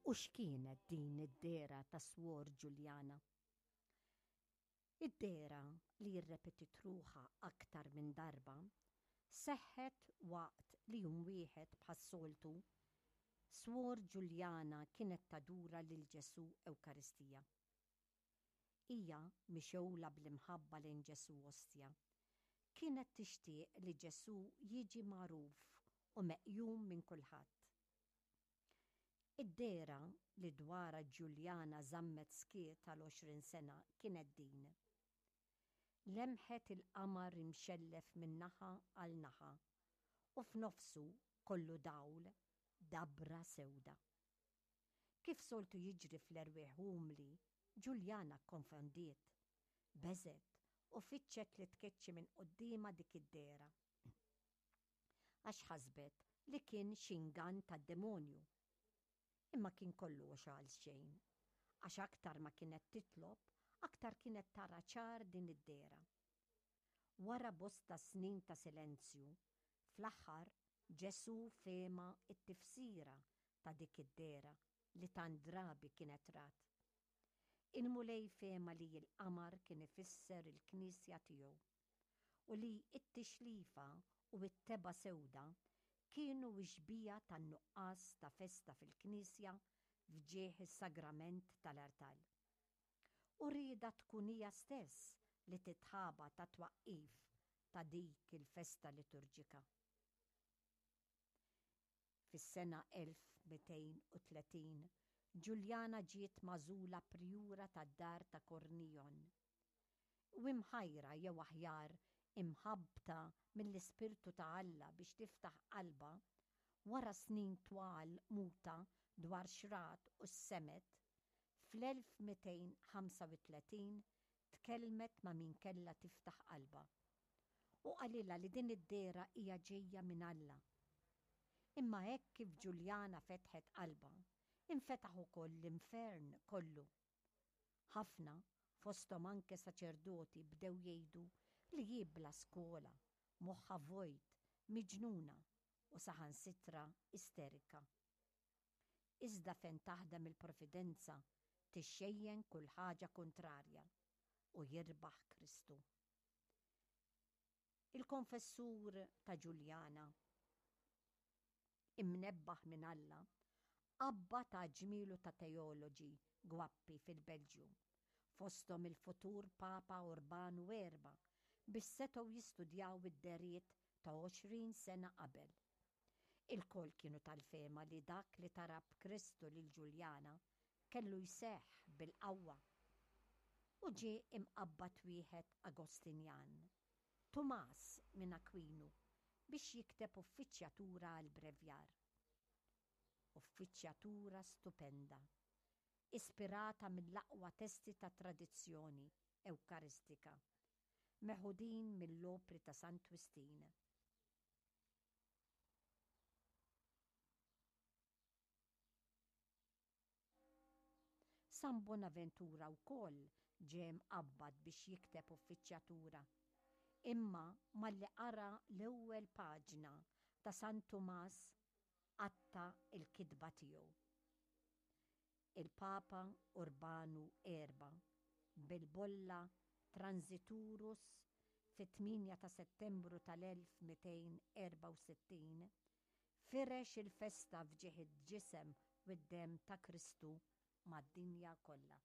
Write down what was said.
U x'kienet din id-dehra ta' Swor Ġuljana? Id-dehra, li rrepetiet ruħha aktar minn darba, seħħet waqt li jum wieħed bħas-soltu, Swor Ġuljana kienet tadura lil Ġesù Ewkaristija. Hija, mixgħula bl-imħabba lejn Ġesù Ostja, kienet tixtieq li Ġesù jiġi magħruf u meqjum minn kulħadd. Id-dehra li dwarha Ġuljana żammet skiet għal 20 sena kienet din. Lemħet il-qamar imxellef minn naħa għal naħa u f'nofsu, kollu dawl, dabra sewda. Kif soltu jiġri fl-erwieħ umli, Ġuljana kkonfondiet, beżgħet u fittxet li tkeċċi minn quddiemha dik id-dehra. Għax ħasbet li kien xi ingann tad-demonju. Imma kien kollu għox għalxejn, għax aktar ma kienet titlob, aktar kienet tara ċar din id-dehra. Wara bosta snin ta' silenzju, fl-aħħar Ġesù fehma t-tifsira ta' dik id-dehra li tant drabi kienet rat. Il-Mulej fehma li l-qamar kien ifisser il-Knisja tiegħu. u li t-tixlifa u t-tebgħa sewda kienu x-xbieha tan-nuqqas ta' festa fil-knisja f'ġieħ is-sagrament tal-artal. U riedha tkun hija stess li titħaba tat-twaqqif ta' dik il-festa liturġika. Fis-sena 1230, Ġuljana ġiet magħżula prjura tad-dar ta' Cornillon. U imħajra jew aħjar imħabbta mill-Ispirtu ta' Alla biex tiftaħ qalbha, wara snin twal muta dwar x'rat u x'semgħet, fl-1235 tkellmet ma' min kellha tiftaħ qalbha. U qalilha li din id-dehra hija ġejja minn Alla. Imma hekk kif Ġuljana fetħet qalbha, infetaħ ukoll l-infern kollu. Ħafna, fosthom anke saċerdoti bdew jgħidu li hi bla skola, moħħha vojt, miġnuna u saħansitra isterika. Iżda fejn taħdem il-Providenza tixxejjen kull ħaġa kuntrarja u jirbaħ Kristu. Il-konfessur ta' Ġuljana, imnebbaħ minn Alla, qabbad għadd ġmielu ta' teoloġi gwappi fil-Belġju, fosthom il-futur Papa Urbanu Erba' biex setgħu jistudjaw id-dehriet ta' 20 sena qabel. Ilkoll kienu tal-fehma li dak li tarab Kristu lil Ġuljana kellu jseħħ bil-qawwa. U ġie imqabbad wieħed Agostinjan, Tumas minn Akwinu, biex jikteb uffiċjatura għall-brevjar. Uffiċjatura stupenda, ispirata mill-aqwa testi tat-tradizzjoni Ewkaristika, meħudin mill-opri ta' Sant Wistin. San Bonaventura wkoll ġie mqabbad biex jikteb uffiċjatura. Imma malli qara l-ewwel paġna ta' San Tumas qatta' l-kitba tiegħu. Il-Papa Urbanu Erba' bil-bolla Transiturus fit-8 ta' Settembru tal-1264 firex il-festa f'ġieħ id-Ġisem u d-Demm ta' Kristu mad-dinja kollha.